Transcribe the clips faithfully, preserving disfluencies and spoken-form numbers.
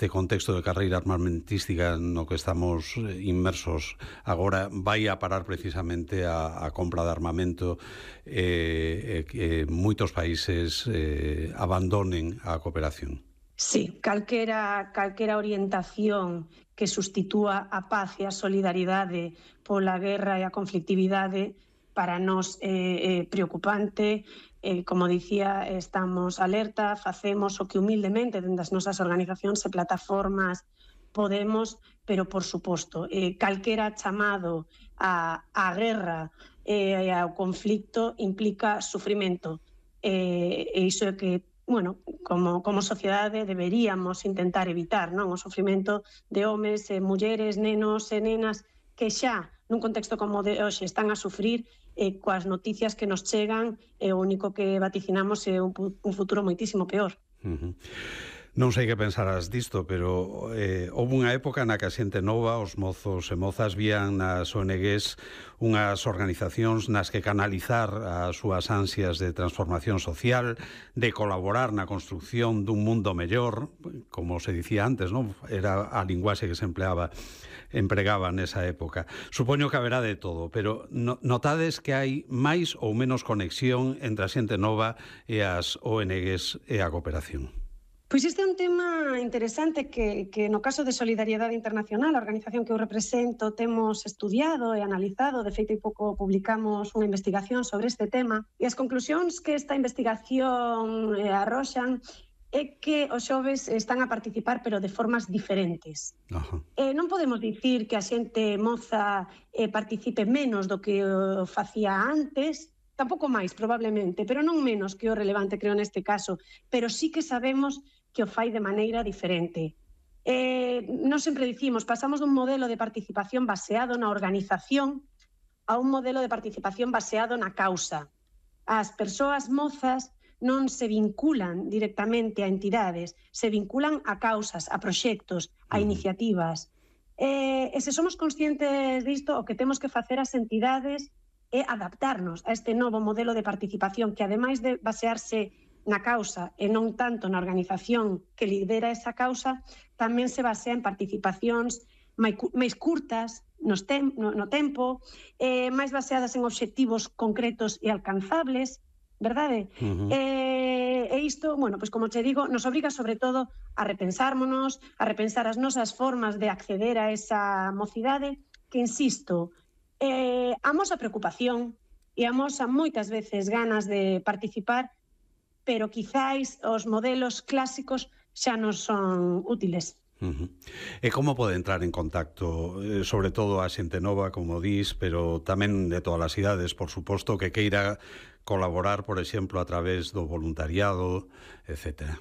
este contexto de carreira armamentística no que estamos inmersos agora vai a parar precisamente a, a compra de armamento e eh, que moitos países eh, abandonen a cooperación. Sí, calquera, calquera orientación que sustitúa a paz e a solidaridade pola guerra e a conflictividade para nós é eh, preocupante. Eh, como dicía, estamos alerta, facemos o que humildemente dentro das nosas organizacións e plataformas podemos, pero por suposto, eh, calquera chamado a, a guerra e eh, ao conflicto implica sufrimento. Eh, e iso é que, bueno, como, como sociedade deberíamos intentar evitar, non? O sufrimento de homes, e mulleres, nenos e nenas que xa nun contexto como de hoxe están a sufrir e coas noticias que nos chegan e o único que vaticinamos é un, un futuro moitísimo peor. Uh-huh. Non sei que pensarás disto, pero eh, houve unha época na que a xente nova, os mozos e mozas, vían nas O N Ges unhas organizacións nas que canalizar as súas ansias de transformación social, de colaborar na construcción dun mundo mellor, como se dicía antes, non? Era a linguaxe que se empleaba empregaba nesa época. Supoño que haberá de todo, pero no, notades que hai máis ou menos conexión entre a xente nova e as O N Ges e a cooperación. Pois este é un tema interesante que, que no caso de Solidariedade Internacional, a organización que eu represento, temos estudiado e analizado. De feito, hai pouco publicamos unha investigación sobre este tema e as conclusións que esta investigación eh, arroxan é que os xoves están a participar pero de formas diferentes. Ajá. Eh, non podemos dicir que a xente moza eh, participe menos do que o facía antes, tampouco máis probablemente, pero non menos que o relevante, creo, neste caso, pero sí que sabemos que o fai de maneira diferente. Eh, non sempre dicimos, pasamos dun modelo de participación baseado na organización a un modelo de participación baseado na causa. As persoas mozas non se vinculan directamente a entidades, se vinculan a causas, a proxectos, a iniciativas. Eh, e se somos conscientes disto, o que temos que facer as entidades é adaptarnos a este novo modelo de participación que, ademais de basearse na causa e non tanto na organización que lidera esa causa, tamén se basea en participacións máis curtas nos tem, no, no tempo, eh, máis baseadas en obxectivos concretos e alcanzables, verdade? Uh-huh. Eh, e isto, bueno, pois como che digo, nos obriga sobre todo a repensármonos, a repensar as nosas formas de acceder a esa mocidade que, insisto, eh, amosa preocupación e amosa moitas veces ganas de participar, pero quizáis os modelos clásicos xa non son útiles. Uh-huh. E como pode entrar en contacto, eh, sobre todo a xente nova, como dis, pero tamén de todas as idades, por suposto, que queira colaborar, por exemplo, a través do voluntariado, etcétera?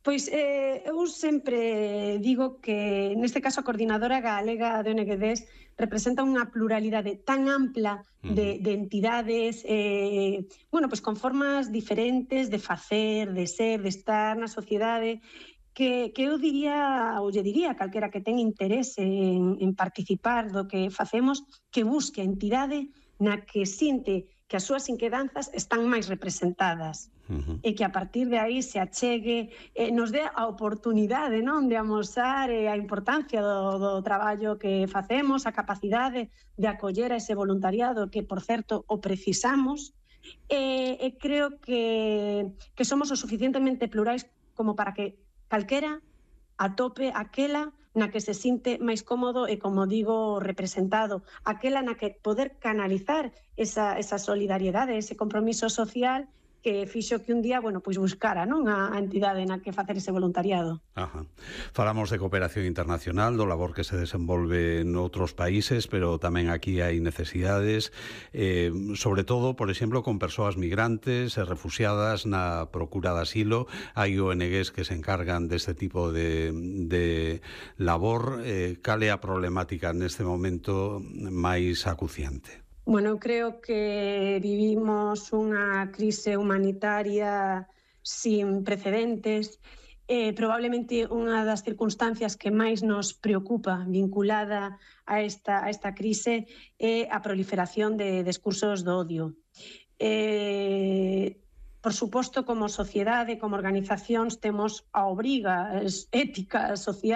Pois eh, eu sempre digo que, neste caso, a Coordinadora Galega de O N G Ds representa unha pluralidade tan ampla de, de entidades, eh, bueno, pois con formas diferentes de facer, de ser, de estar na sociedade, que, que eu diría, ou lle diría a calquera que ten interese en, en participar do que facemos, que busque a entidade na que sinte que as súas inquedanzas están máis representadas. Uh-huh. E que a partir de aí se achegue, eh, nos dé a oportunidade, non, de amosar eh, a importancia do, do traballo que facemos, a capacidade de acoller a ese voluntariado que, por certo, o precisamos, e, e creo que, que somos o suficientemente plurais como para que calquera atope aquela na que se sinte máis cómodo e, como digo, representado, aquela na que poder canalizar esa, esa solidariedade, ese compromiso social que fixo que un día, bueno, pois buscara, non, a entidade na que facer ese voluntariado. Ajá. Falamos de cooperación internacional, do labor que se desenvolve en outros países, pero tamén aquí hai necesidades, eh, sobre todo, por exemplo, con persoas migrantes e refuxiadas na procura de asilo. Hai O N Ges que se encargan deste tipo de, de labor. Eh, cal é a problemática neste momento máis acuciante? Bueno, eu creo que vivimos unha crise humanitaria sin precedentes. Eh, probablemente unha das circunstancias que máis nos preocupa vinculada a esta, a esta crise é a proliferación de discursos do odio. Eh, por suposto, como sociedade, como organizacións, temos a obriga ética social